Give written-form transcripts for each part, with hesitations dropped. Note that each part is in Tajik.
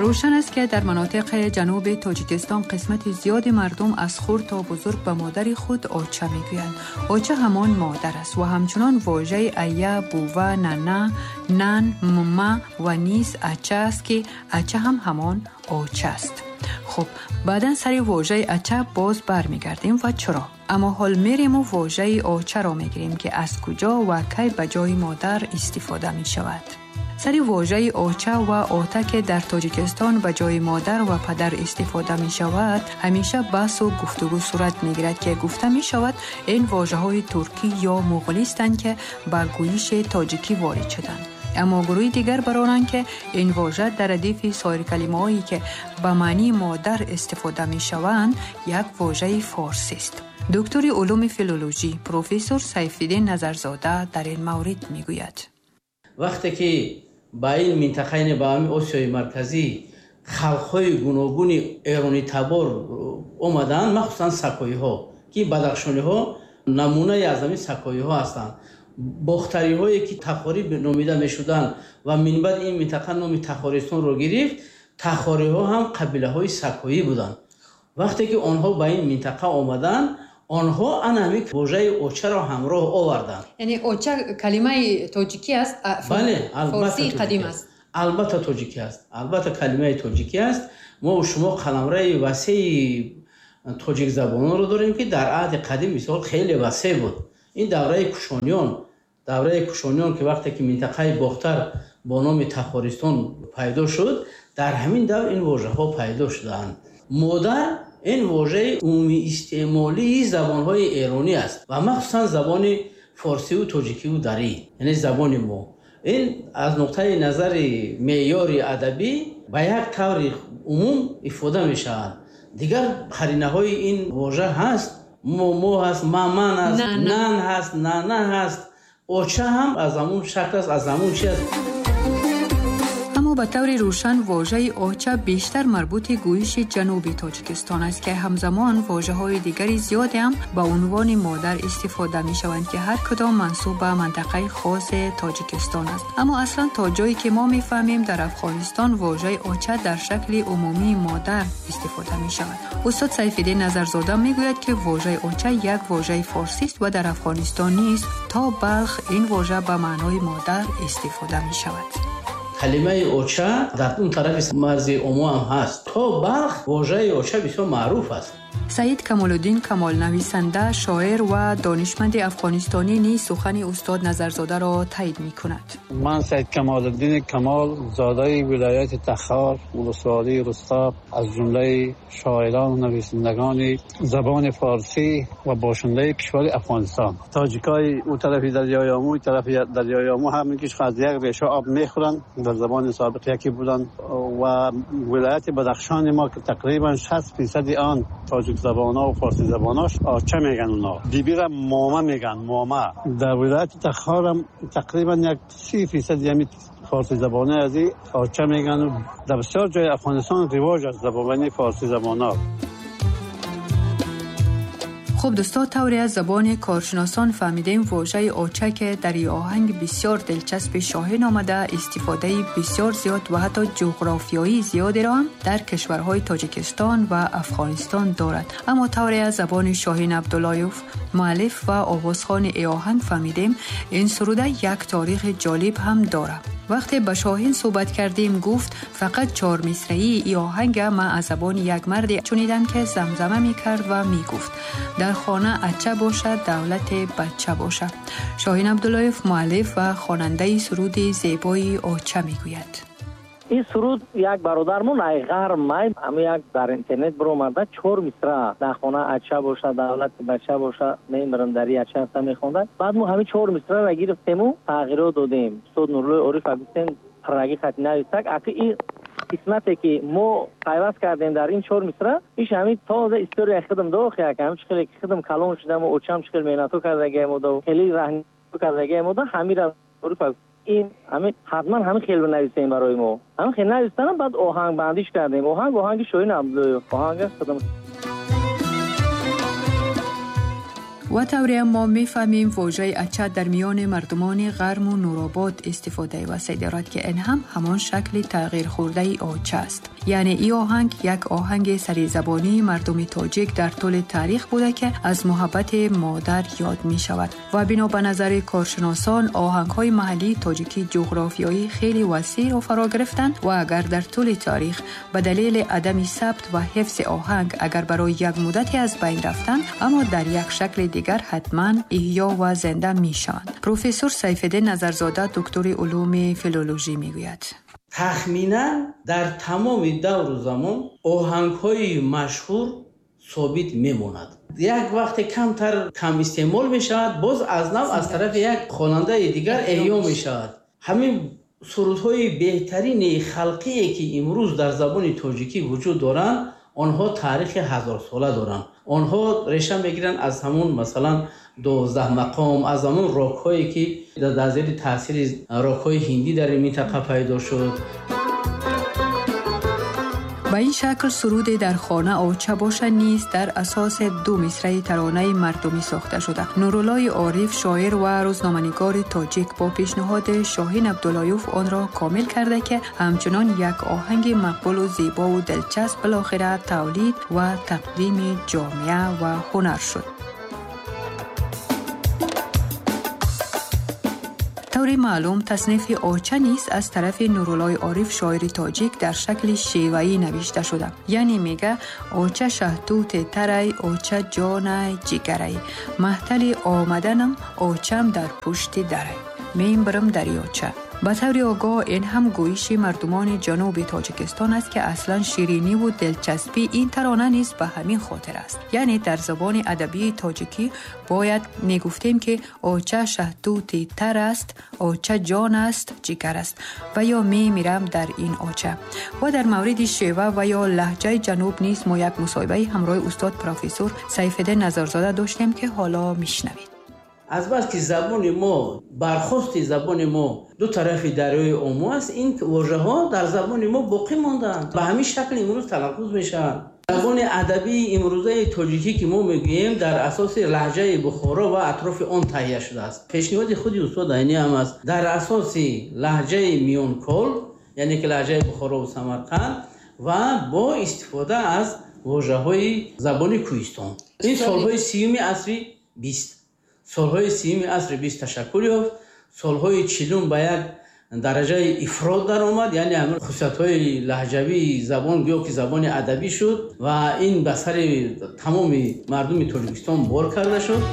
Равшан аст, ки дар минтақаҳои ҷануби Тоҷикистон қисмати зиёди мардум аз хурд то бузург ба модари худ оча мегӯянд. Оча ҳамон модар аст ва ҳамчунон вожаи ая, бува, нана, нан, мма ва низ ача аст, ки ача ҳам ҳамон оча аст. Хуб, баъдан сари вожаи ача боз бармегардем ва чаро. Аммо ҳол мерем ва вожаи очаро мегирем, ки аз куҷо ва кай ба ҷои модар истифода мешавад. Сари вожаи оча ва ота, ки дар Тоҷикистон ба ҷои модар ва падар истифода мешавад, ҳамеша баҳсу гуфтугӯ сурат мегирад, ки гуфта мешавад ин вожаҳои туркӣ ё муғулистанд, ки ба гӯйиши тоҷикӣ ворид шуданд. Аммо гурӯҳи дигар баронанд, ки ин вожа дар радифи соир калимаҳое, ки ба маънии модар истифода мешаванд, як вожаи форсист. Доктори улуми филологӣ, профессор Сайфиддин Назарзода дар ин маврид мегӯяд: Вақте ки ба ин минтақа, яъне ба ҳамин Осиёи Марказӣ, халқҳои гуногуни эронитабор омаданд, махсусан сакоиҳо, ки бадахшониҳо намунае аз ҳамин сакоиҳо ҳастанд, бохтариҳое, ки тахорӣ номида мешуданд ва минбаъд ин минтақа номи Тахористонро гирифт, тахориҳо ҳам қабилаҳои сакоӣ буданд. Вақте ки онҳо ба ин минтақа омаданд, онҳо ана ҳамин вожаи очаро ҳамроҳ оварданд. Яъне оча калимаи тоҷикӣ аст? Бале, албатта. Форсии қадим аст? Албатта, тоҷикӣ аст, албатта, калимаи тоҷикӣ аст. Мо шумо қаламраи васеи тоҷикзабононро дорем, ки дар аҳди қадим мисол хеле васеъ буд. Ин давраи кушониён, давраи кушониён, ки вақте ки минтақаи Бохтар бо номи Тахористон пайдо шуд, дар ҳамин давр ин вожаҳо пайдо шудаанд. Модар ин вожаи умумиистеъмолии забонҳои эронӣ аст ва махсусан забони форсиву тоҷикиву дарӣ, яъне забони мо. Ин аз нуқтаи назари меъёри адабӣ ба як таври умум ифода мешавад. Дигар қаринаҳои ин вожа ҳаст: момо ҳаст, маман ҳаст, нан ҳаст, нана ҳаст, оча ҳам аз ҳамун шакл аст, аз ҳамун чи аст. Аммо ба таври рӯшан вожаи оча бештар марбути гӯйиши ҷануби Тоҷикистон аст, ки ҳамзамон вожаҳои дигари зиёде ҳам ба унвони модар истифода мешаванд, ки ҳар кудом мансуб ба минтақаи хоси Тоҷикистон аст. Аммо аслан то ҷое ки мо мефаҳмем, дар Афғонистон вожаи оча дар шакли умумии модар истифода мешавад. Устод Сайфиддин Назарзода мегӯяд, ки вожаи оча як вожаи форсист ва дар Афғонистон низ то Балх ин вожа ба маънои модар истифода мешавад. Калимаи оча дар он тарафи марзи Омо ҳам ҳаст. То Балх вожаи оча бисёр маъруф аст. Саид Камолуддин Камол, нависанда, шоир ва донишманди афғонистонӣ, низ сухани устод Назарзодаро таъйид мекунад. Ман Саид Камолуддин Камол, зодаи вилояти Тахор, вулусволии Рустоб, аз ҷумлаи шоирон ва нависандагони забони форсӣ ва бошандаи кишвари Афғонистон. Тоҷикои он тарафи дарёи Омӯ, тарафи дарёи Омӯ ҳамагиш аз як реша об мехӯранд, дар забони собиқ яке буданд ва вилояти Бадахшони мо, ки тақрибан 60% он тоҷик забонҳо ва форсӣ забонҳош, оча меган, اونا بیبی را ماما میگن، ماما. در ولایت تخار هم تقریبا یک 30% یعنی فارسی زبانه از این آچه میگن و در بسیار جای افغانستان رواج از زبان فارسی زبان ها. Хуб, дӯсто, тавре аз забони коршиносон фаҳмидем, вожаи оча, ки дар ин оҳанг бисёр дилчаспи Шоҳин омада, истифодаи бисёр зиёд ва ҳатто ҷуғрофиёии зиёдеро ҳам дар кишварҳои Тоҷикистон ва Афғонистон дорад. Аммо тавре аз забони Шоҳин Абдуллоев, муаллиф ва овозхони ин оҳанг фаҳмидем, ин суруда як таърихи ҷолиб ҳам дорад. Вақте ба Шоҳин суҳбат кардем, гуфт: фақат чормисраии ин оҳанга ман аз забони як марде шунидам, ки замзама мекард ва мегуфт: дар хона ача бошад, давлати бача бошад. Шоҳин Абдуллоев, муаллиф ва хонандаи суруди зебои «Оча», мегӯяд: Ин суруд як бародармон ай ғарб май ҳама як дар интернет биромада, чор мисра «Дар хона ача боша, давлати бача боша, мемирам дари ача» мехонда. Баъд мо ҳамин чор мисраро гирифтему тағйирот додем. Устод Нуруллои Орифа гуфтем, парраги хати нависак. Аки ин қисмате, ки мо пайваст кардем дар ин чор мисра, иш ҳамин тоза историяи худам дохи як ҳамин чӣ хеле ки худам калон шудаму очам чӣ хел меҳнатҳо кардагиам хеле раҳни кардагиам ҳамира Орифа ин ҳамин ҳатман ҳамин хел бинависем барои мо. Ҳамин хел навистанам, баъд оҳангбандиш кардем. Оҳанг оҳанги Шоҳин Абдуллоев, оҳанг худам. Ва тавре мо мефаҳмем, вожаи ача дар миёни мардумони Ғарму Нуробод истифодаи васеъ дорад, ки ин ҳам ҳамон шакли тағйирхӯрдаи оча аст. Яъне ин оҳанг як оҳанги саризабонии мардуми тоҷик дар тӯли таърих буда, ки аз муҳаббати модар ёд мешавад. Ва бино ба назари коршиносон, оҳангҳои маҳаллии тоҷикӣ ҷуғрофиёӣ хеле васеъро фаро гирифтанд ва агар дар тӯли таърих ба далели адами сабт ва ҳифзи оҳанг агар барои як муддате аз байн рафтанд, аммо дар як шакли дигар ҳатман эҳё ва зинда мешаванд. Профессор Сайфиддин Назарзода, доктори улуми филологӣ, мегӯяд: тахминан дар тамоми давру замон оҳангҳои машҳур собит мемонад. Як вақте камтар кам истеъмол мешавад, боз аз нав аз тарафи як хонандаи дигар эҳё мешавад. Ҳамин сурудҳои беҳтарини халқие, ки имрӯз дар забони тоҷикӣ вуҷуд доранд, онҳо таърихи ҳазорсола доранд. Онҳо реша мегиранд аз ҳамун, масалан, 12 мақом, аз ҳамун рокҳое, ки дар зери таъсири рокҳои ҳиндӣ дар ин минтақа пайдо шуд. Ба ин шакл суруде «Дар хона оча боша» низ дар асоси ду мисраи таронаи мардумӣ сохта шуда. Нуруллои Ориф, шоир ва рӯзноманигори тоҷик, бо пешниҳоди Шоҳин Абдуллоюв онро комил карда, ки ҳамчунон як оҳанги мақбулу зебову дилчасп билохира тавлид ва тақдими ҷомеа ва ҳунар шуд. Таври маълум, таснифи оча низ аз тарафи Нуруллои Ориф, шоири тоҷик, дар шакли шеваӣ навишта шуда. Яъне мега: оча шаҳтути тарай, оча ҷонай, ҷигарай, маҳтали омаданам очам дар пушти дарай, мембирам дарёча. Ба таври огоҳ, ин ҳам гӯиши мардумони ҷануби Тоҷикистон аст, ки аслан шириниву дилчаспии ин тарона низ ба ҳамин хотир аст. Яъне дар забони адабии тоҷикӣ бояд мегуфтем, ки оча шаҳтути тар аст, оча ҷон аст, ҷигар аст ва ё мемирам дар ин оча. Ва дар мавриди шева ва ё лаҳҷаи ҷануб низ мо як мусоҳибаи ҳамроҳи устод профессор Сайфиддин Назарзода доштем, ки ҳоло мешунавед. Азбаски забони мо, бархости забони мо ду тарафи дарёи Омо аст, ин вожаҳо дар забони мо боқӣ монданд, ба ҳамин шакл имрӯз талаффуз мешаванд. Забони адабии имрӯзаи тоҷикӣ, ки мо мегӯем, дар асоси лаҳҷаи Бухоро ва атрофи он таҳия шудааст. Пешниҳоди худи устод Айнӣ ҳам аст: дар асоси лаҳҷаи миёнкол, яъне ки лаҳҷаи Бухорову Самарқанд, ва бо истифода аз вожаҳои забони кӯҳистон. Ин солҳои 30-уми асри 20, солҳои 30-уми асри 20 ташаккул ёфт, солҳои 40-ум ба як дараҷаи ифрот даромад, яъне ҳамин хусусиятҳои лаҳҷавии забон гӯё ки забони адабӣ шуд ва ин ба сари тамоми мардуми Тоҷикистон бор карда шуд.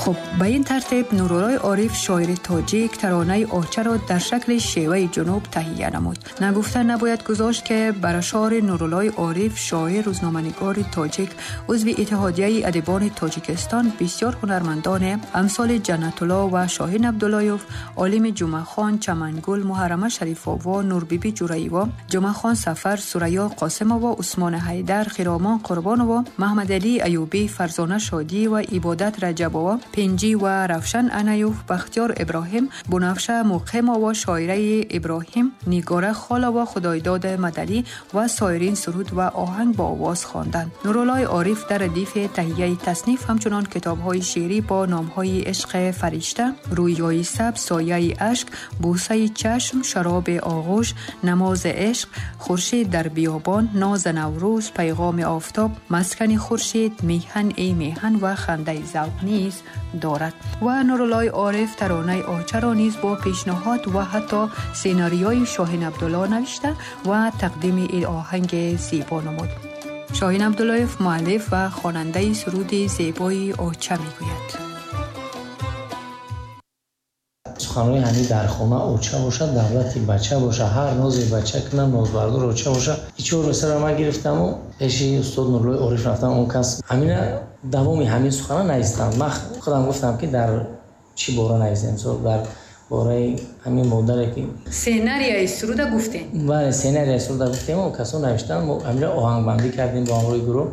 Хуб, ба ин тартиб Нуруллои Ориф, шоири тоҷик, таронаи очаро дар шакли шеваи ҷунуб таҳия намуд. Нагуфта набояд гузошт, ки бар ашъори Нуруллои Ориф, шоир, рӯзноманигори тоҷик, узви Иттиҳодияи адибони Тоҷикистон, бисёр ҳунармандоне амсоли Ҷаннатулло ва Шоҳин Абдуллоев, Олими Ҷумъахон, Чамангул, Муҳаррама Шарифово, Нурбибӣ Ҷураево, Ҷумъахон Сафар, Сурайё Қосимово, Усмони Ҳайдар, Хиромон Қурбоново, Маҳмадалӣ Аюбӣ, Фарзона Шодиева, Ибодат Раҷабова, Пинҷӣ ва Равшан Анаюв, Бахтиёр Иброҳим, Бунафша Муқимова, Шоираи Иброҳим, Нигора Холова, Худойдод Мадалӣ ва соирин суруд ва оҳанг бо овоз хонданд. Нуруллои Ориф дар радифи таҳияи тасниф ҳамчунон китобҳои шеърӣ бо номҳои «Ишқи фаришта», «Рӯёи сабз», «Сояи ашк», «Бӯсаи чашм», «Шароби оғӯш», «Намози ишқ», «Хуршед дар биёбон», «Ноза наврӯз», «Пайғоми офтоб», «Маскани хуршед», «Меҳан эй меҳан» ва «Хандаи завқ» низ дорад. Ва Нуруллои Ориф таронаи очаро низ бо пешниҳод ва ҳатто сценариёи Шоҳин Абдулло навишта ва тақдими ин оҳанги зебо намуд. Шоҳин Абдуллоев, муаллиф ва хонандаи суруди зебои оча, мегӯяд: Суханҳои ҳамин «Дар хона оча бошад, давлати бача бошад, ҳар нозе бача кунам, нозбардор оча бошад». И чор мисра ман гирифтаму пеши устод Нуруллои Ориф рафтам. Он кас ҳамина давоми ҳамин сухана навистанд. Ман худам гуфтам, ки дар чӣ бора навистем, мисол, дар бораи ҳамин модаре ки Сценарияи суруда гуфтем. Бале, сценарияи суруда гуфтем, он касо навиштанд, мо ҳамина оҳангбандӣ кардем бо ҳамроҳи гурӯҳ.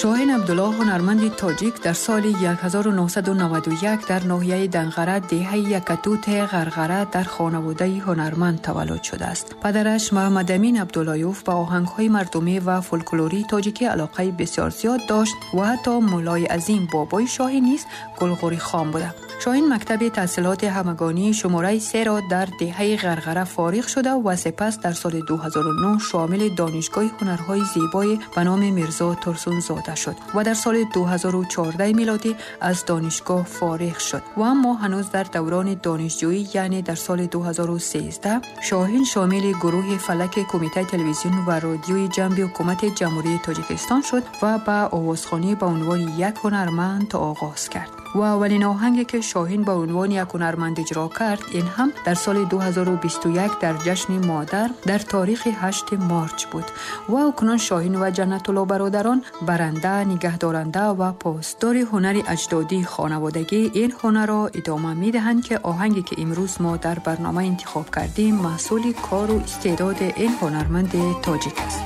Шоҳин Абдулло ҳунарманди тоҷик дар соли 1991 дар ноҳияи Данғара, деҳаи Якатуте Ғарғара дар хонаводаи ҳунарманд таваллуд шудааст. Падараш Муҳаммадамин Абдуллоев ба оҳангҳои мардумӣ ва фолклории тоҷикӣ алоқаи бисёр зиёд дошт ва ҳатто муллои азим бобои Шоҳин низ гулғурихон буда. Шоҳин мактаби таҳсилоти ҳамагонии шумораи 3-ро дар деҳаи Ғарғара фориғ шуда ва сипас дар соли 2009 шомили Донишгоҳи ҳунарҳои зебои ба номи Мирзо Турсунзода шуд ва дар соли 2014 милодӣ аз донишгоҳ фориғ шуд. Ва аммо ҳанӯз дар даврони донишҷӯӣ, яъне дар соли 2013, Шоҳин шомили гурӯҳи фалаки Кумитаи телевизион ва радиои ҷанби ҳукумати Ҷумҳурии Тоҷикистон шуд ва ба овозхонӣ ба унвони як ҳунарманд оғоз кард. Ва аввалин оҳанге ки Шоҳин ба унвони як ҳунарманд иҷро кард, ин ҳам дар соли 2021 дар ҷашни модар дар таърихи 8 марч буд. Ва акнун Шоҳин ва Ҷаннатулло бародарон баранда, нигаҳдоранда ва посдори ҳунари аҷдодии хонаводагӣ ин ҳунарро идома медиҳанд, ки оҳанге ки имрӯз мо дар барнома интихоб кардем маҳсули кору истеъдоди ин ҳунарманди тоҷик аст.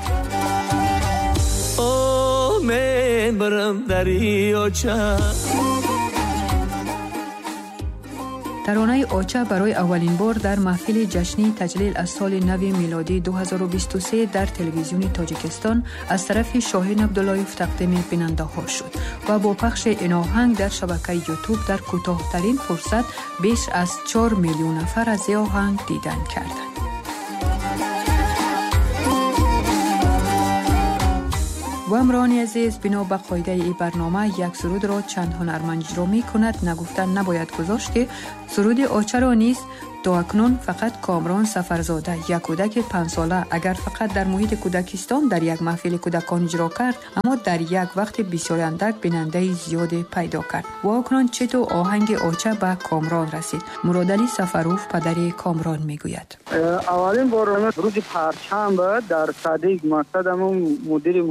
Таронаи Оча барои аввалин бор дар маҳфили ҷашнии таҷлил аз соли нави милодии 2023 дар телевизиони Тоҷикистон аз тарафи Шоҳин Абдуллоев тақдими бинандаҳо шуд ва бо пахши ин оҳанг дар шабакаи Ютуб дар кӯтоҳтарин фурсат беш аз 4 миллион нафар аз ин оҳанг дидан карданд. Ва ҳамроҳони азиз, бино ба қоидаи ин барнома як сурудро чанд ҳунарманд иҷро мекунад. Нагуфта набояд гузошт, ки суруди Очаро низ то акнун фақат Комрон Сафарзода, як кӯдаки 5сола, агар фақат дар муҳити кӯдакистон дар як маҳфили кӯдакон иҷро кард, аммо дар як вақти бисёр андак бинандаи зиёде пайдо кард. Ва акнун читу оҳанги Оча ба Комрон расид. Муродалӣ Сафаров, падари Комрон, мегӯяд: аввалин бор рӯзи парчамба дар садик мақсадамон мудири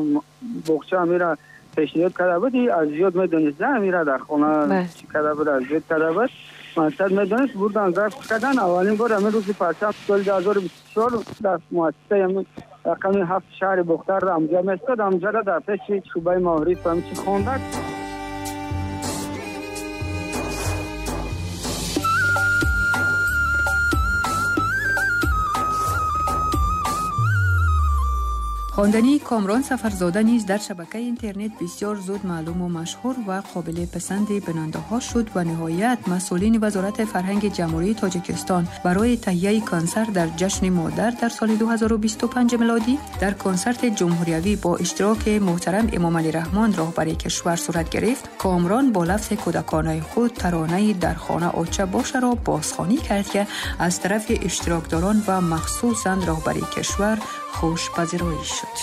боғча амира пешниҳод карда буд, аз зиёд медонист, амира дар хона чӣ карда буд, аз зиёд карда буд, мақсад медонист, бурдан зарф кардан. Аввалин бор ҳамин рӯзи парчам соли 2024 дар муассисаи ҳамин рақами 7 шаҳри Бохтар амҷа местод, амҷара дар пеши шӯъбаи маориф ҳамчи хондак. Хондани Комрон Сафарзода низ дар шабакаи интернет бисёр зуд маълуму машҳур ва қобили писанди бинандаҳо шуд ва ниҳоят масъулини Вазорати фарҳанги Ҷумҳурии Тоҷикистон барои таҳияи консерт дар ҷашни модар дар соли 2025 милодӣ дар консерти ҷумҳуриявӣ бо иштироки муҳтарам Эмомалӣ Раҳмон, роҳбари кишвар, сурат гирифт. Комрон бо лафзи кӯдаконаи худ таронаи «Дар хона оча бошаро» бозхонӣ кард, ки аз тарафи иштирокдорон ва махсусан роҳбари кишвар хушпазироӣ шуд.